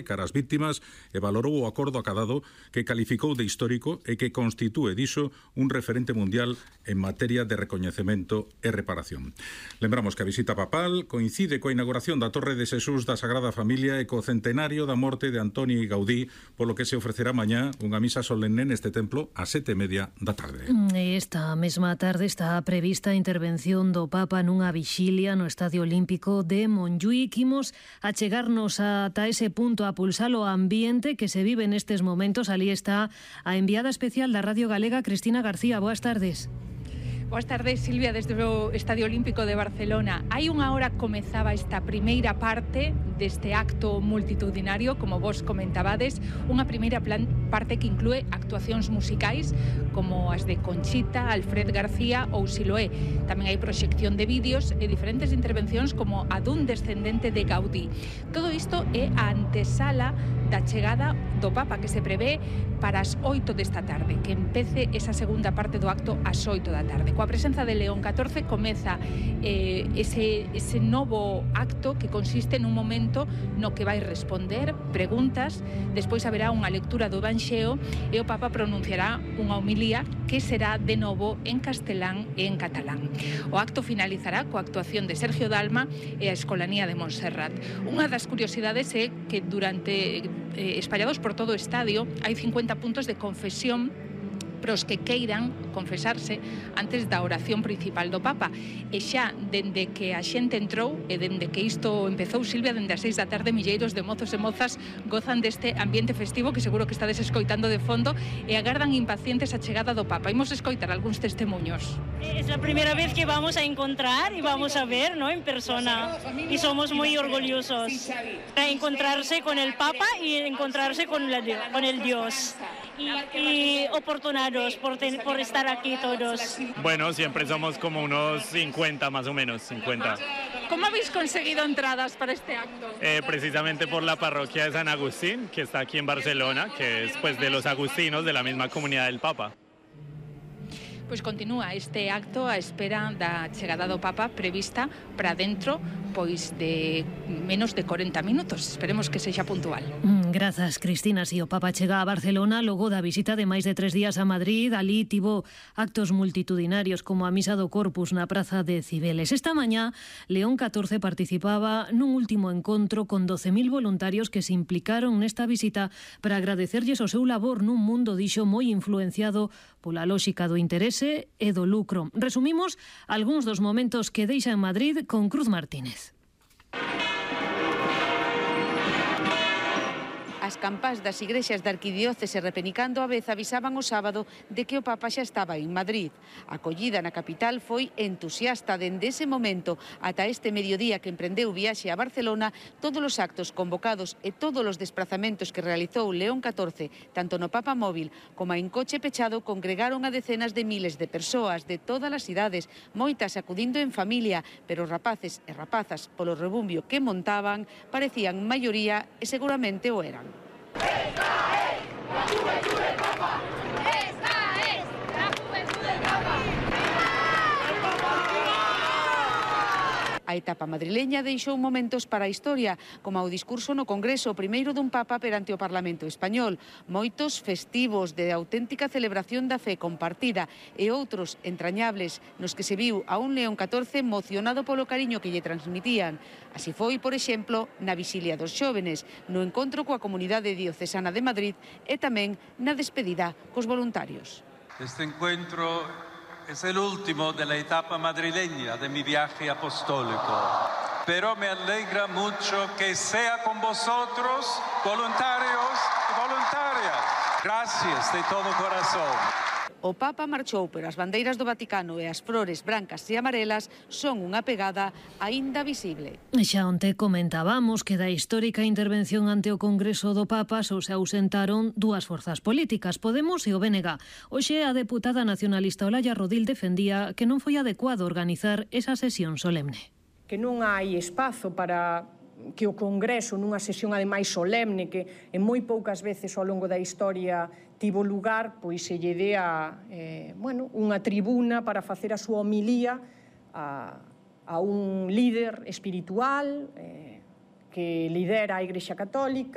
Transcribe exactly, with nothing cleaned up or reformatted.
cara as víctimas e valorou o acordo acadado que calificou de histórico e que constitúe diso un referente mundial en materia de recoñecemento e reparación. Lembramos que a visita papal coincide coa inauguración da Torre de Xesús da Sagrada Familia e co centenario da morte de Antoni Gaudí, polo que se ofrecerá mañá unha misa solenne neste templo a sete e media da tarde. Esta mesma tarde está prevista a intervención do Papa nunha vixilia no Estadio Olímpico de Montjuïc. Imos a chegarnos ata ese punto a pulsar o ambiente que se vive en estes momentos. Alí está a enviada especial da Radio Galega, Cristina García. Boas tardes. Boas tardes, Silvia, desde o Estadio Olímpico de Barcelona. Hai unha hora comezaba esta primeira parte deste acto multitudinario, como vos comentabades, unha primeira plan, parte que inclúe actuacións musicais como as de Conchita, Alfred García ou Siloé. Tamén hai proxección de vídeos e diferentes intervencións como a dun descendente de Gaudí. Todo isto é a antesala da chegada do Papa, que se prevé para as oito desta tarde, que empece esa segunda parte do acto ás oito da tarde. Coa presenza de León catorce comeza eh, ese, ese novo acto que consiste nun momento no que vai responder preguntas, despois haberá unha lectura do Evanxeo e o Papa pronunciará unha homilía que será de novo en castelán e en catalán. O acto finalizará coa actuación de Sergio Dalma e a Escolanía de Montserrat. Unha das curiosidades é que durante eh, espallados por todo o estadio hai cincuenta puntos de confesión para os que queiran confesarse antes da oración principal do Papa. E xa, dende que a xente entrou e dende que isto empezou, Silvia, dende as seis da tarde, milleiros de mozos e mozas gozan deste ambiente festivo que seguro que estades escoitando de fondo e agardan impacientes a chegada do Papa. Imos escoitar algúns testemunhos. Es la primera vez que vamos a encontrar y vamos a ver, ¿no?, en persona, y somos muy orgullosos de encontrarse con el Papa y encontrarse con, la, con el Dios. Y, y oportunados por, ten, por estar aquí todos. Bueno, siempre somos como unos cincuenta más o menos, cincuenta. ¿Cómo habéis conseguido entradas para este acto? Eh, precisamente por la parroquia de San Agustín, que está aquí en Barcelona, que es pues de los agustinos de la misma comunidad del Papa. Pois continúa este acto a espera da chegada do Papa prevista para dentro pois de menos de corenta minutos. Esperemos que sexa puntual. Mm, grazas, Cristina. Si o Papa chega a Barcelona logo da visita de máis de tres días a Madrid, alí tivo actos multitudinarios como a Misa do Corpus na Praza de Cibeles. Esta mañá, León catorce participaba nun último encontro con doce mil voluntarios que se implicaron nesta visita para agradecerlles o seu labor nun mundo, dixo, moi influenciado pola lóxica do interese e do lucro. Resumimos algúns dos momentos que deixa en Madrid con Cruz Martínez. As campás das igrexas da arquidiócese repenicando a vez avisaban o sábado de que o Papa xa estaba en Madrid. A acollida na capital foi entusiasta dende ese momento ata este mediodía que emprendeu viaxe a Barcelona. Todos os actos convocados e todos os desplazamentos que realizou León catorce, tanto no Papa móvil como en coche pechado, congregaron a decenas de miles de persoas de todas as idades, moitas acudindo en familia, pero rapaces e rapazas, polo rebumbio que montaban, parecían maioría e seguramente o eran. ¡Esta es la juventud del Papa! ¡Esta es la juventud del Papa! A etapa madrileña deixou momentos para a historia, como o discurso no Congreso, o primeiro dun Papa perante o Parlamento español, moitos festivos de auténtica celebración da fe compartida e outros entrañables nos que se viu a un León catorce emocionado polo cariño que lle transmitían. Así foi, por exemplo, na Vixilia dos Xóvenes, no encontro coa comunidade diocesana de Madrid e tamén na despedida cos voluntarios. Este encuentro es el último de la etapa madrileña de mi viaje apostólico, pero me alegra mucho que sea con vosotros, voluntarios y voluntarias. Gracias de todo corazón. O Papa marchou, pero as bandeiras do Vaticano e as flores brancas e amarelas son unha pegada aínda visible. Xa onte comentábamos que da histórica intervención ante o Congreso do Papa só se ausentaron dúas forzas políticas, Podemos e o B N G. Hoxe a deputada nacionalista Olaya Rodil defendía que non foi adecuado organizar esa sesión solemne. Que non hai espazo para que o Congreso, nunha sesión ademais solemne que en moi poucas veces ao longo da historia tivo lugar, pois se lle dea eh, bueno, unha tribuna para facer a súa homilía a, a un líder espiritual eh, que lidera a Igrexa Católica,